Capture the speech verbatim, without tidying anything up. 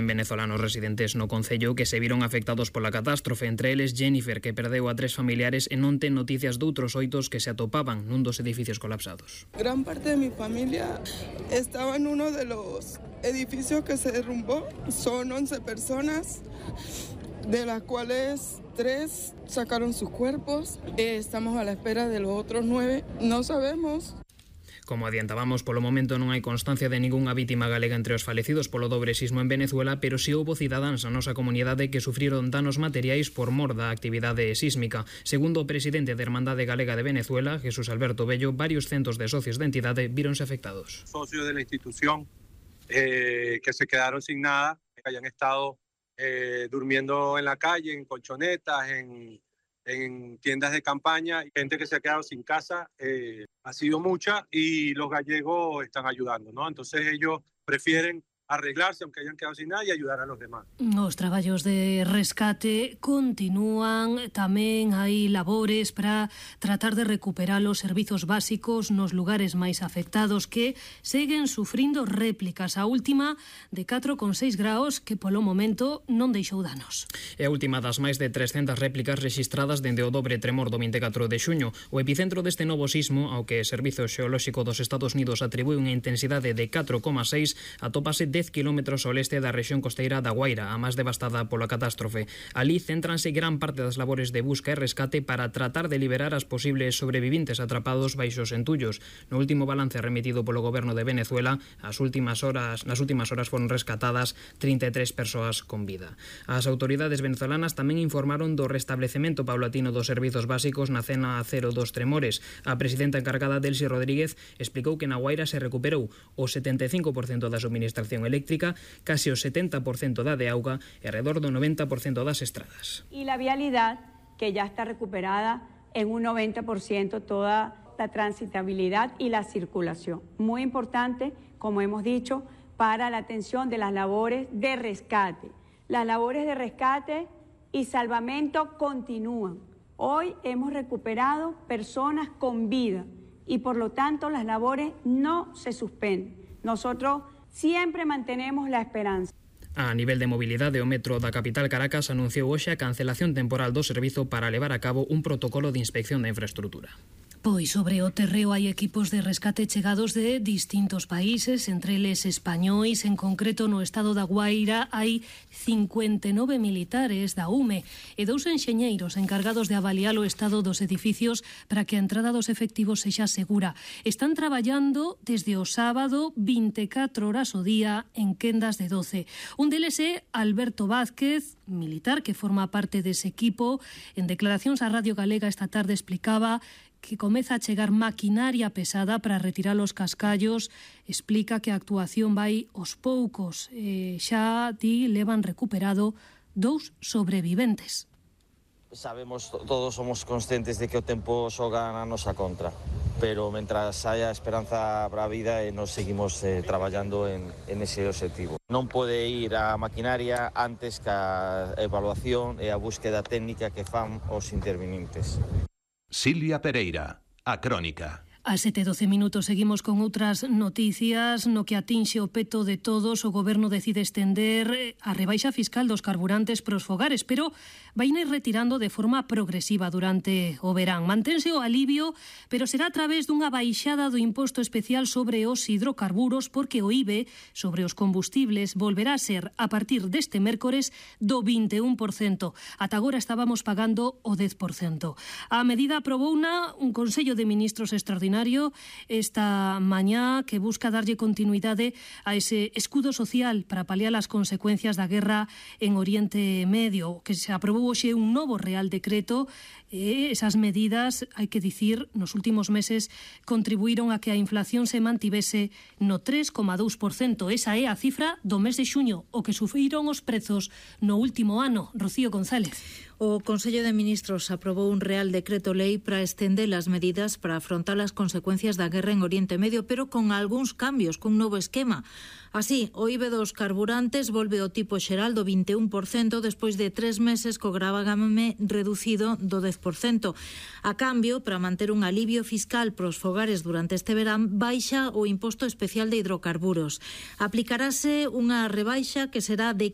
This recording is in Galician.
cen venezolanos residentes no concello que se viron afectados pola catástrofe, entre eles Jennifer, que perdeu a tres familiares e non ten noticias doutros oitos que se atopaban nun dos edificios colapsados. Gran parte de mi familia estaba en uno de los edificios que se derrumbó. Son once personas, de las cuales tres sacaron sus cuerpos. Estamos a la espera de los otros nueve. No sabemos. Como adiantábamos, polo momento non hai constancia de ningunha vítima galega entre os falecidos polo dobre sismo en Venezuela, pero si houbo cidadáns na nosa comunidade que sufriron danos materiais por mor da actividade sísmica. Segundo o presidente da Hermandade Galega de Venezuela, Jesús Alberto Bello, varios centos de socios da entidade víronse afectados. Socios de la institución eh, que se quedaron sin nada, que hayan estado eh, durmiendo en la calle, en colchonetas, en... en tiendas de campaña, gente que se ha quedado sin casa, eh, ha sido mucha y los gallegos están ayudando, ¿no? Entonces ellos prefieren arreglarse, aunque hayan quedado sin nada, e ayudar a los demás. Os traballos de rescate continúan, tamén hai labores para tratar de recuperar os servizos básicos nos lugares máis afectados que seguen sufrindo réplicas. A última de catro coma seis graus que polo momento non deixou danos. É a última das máis de trescentas réplicas rexistradas dende o dobre tremor do vinte e catro de xuño. O epicentro deste novo sismo, ao que o Servizo Xeolóxico dos Estados Unidos atribui unha intensidade de catro coma seis, atópase dez kilómetros ao leste da rexión costeira da Guaira, a máis devastada pola catástrofe. Ali céntranse gran parte das labores de busca e rescate para tratar de liberar as posibles sobrevivintes atrapados baixo os entullos. No último balance remitido polo goberno de Venezuela, as últimas horas, nas últimas horas foron rescatadas trinta e tres persoas con vida. As autoridades venezolanas tamén informaron do restablecemento paulatino dos servizos básicos na zona cero dos tremores. A presidenta encargada, Delcy Rodríguez, explicou que na Guaira se recuperou o setenta e cinco por cento da suministración eléctrica, casi o setenta por cento da de auga e alrededor do noventa por cento das estradas. Y la vialidad, que ya está recuperada en un noventa por ciento toda la transitabilidad y la circulación. Muy importante, como hemos dicho, para la atención de las labores de rescate. Las labores de rescate y salvamento continúan. Hoy hemos recuperado personas con vida y por lo tanto las labores no se suspenden. Nosotros siempre mantenemos la esperanza. A nivel de mobilidade, o metro da capital Caracas anunciou hoxe a cancelación temporal do servizo para levar a cabo un protocolo de inspección da infraestructura. Pois sobre o terreo hai equipos de rescate chegados de distintos países, entre eles españois, en concreto no estado da Guaira hai cincuenta e nove militares da U M E e dous enxeñeiros encargados de avaliar o estado dos edificios para que a entrada dos efectivos sexa segura. Están traballando desde o sábado vinte e catro horas ao día en quendas de doce. Un deles é Alberto Vázquez, militar que forma parte dese equipo. En declaracións á Radio Galega esta tarde explicaba que comeza a chegar maquinaria pesada para retirar os cascallos. Explica que a actuación vai aos poucos. Eh, xa ti levan recuperado dous sobreviventes. Sabemos, todos somos conscientes de que o tempo xoga na nosa contra, pero mentras haya esperanza para a vida e nos seguimos eh, traballando en, en ese objetivo. Non pode ir a maquinaria antes que a evaluación e a búsqueda técnica que fan os intervenientes. Silvia Pereira, a Crónica. A sete e doce minutos seguimos con outras noticias. No que atinxe o peto de todos, o Goberno decide estender a rebaixa fiscal dos carburantes pros fogares, pero vai ir retirando de forma progresiva durante o verán. Mantense o alivio, pero será a través dunha baixada do imposto especial sobre os hidrocarburos, porque o I V E sobre os combustibles volverá a ser, a partir deste mércores, do vinte e un por cento. Ata agora estábamos pagando o dez por cento. A medida aprobouna un Consello de Ministros extraordinario esta mañá que busca darlle continuidade a ese escudo social para paliar as consecuencias da guerra en Oriente Medio, que se aprobou hoxe un novo Real Decreto. E esas medidas, hai que dicir, nos últimos meses contribuíron a que a inflación se mantivese no tres coma dous por cento. Esa é a cifra do mes de xuño, o que sufriron os prezos no último ano. Rocío González. O Consello de Ministros aprobou un Real Decreto Lei para estender as medidas para afrontar as consecuencias da guerra en Oriente Medio, pero con algúns cambios, cun novo esquema. Así, o I V E dos carburantes volve ao tipo xeral do vinte e un por cento despois de tres meses co gravame reducido do dez por cento. A cambio, para manter un alivio fiscal pros fogares durante este verán, baixa o imposto especial de hidrocarburos. Aplicarase unha rebaixa que será de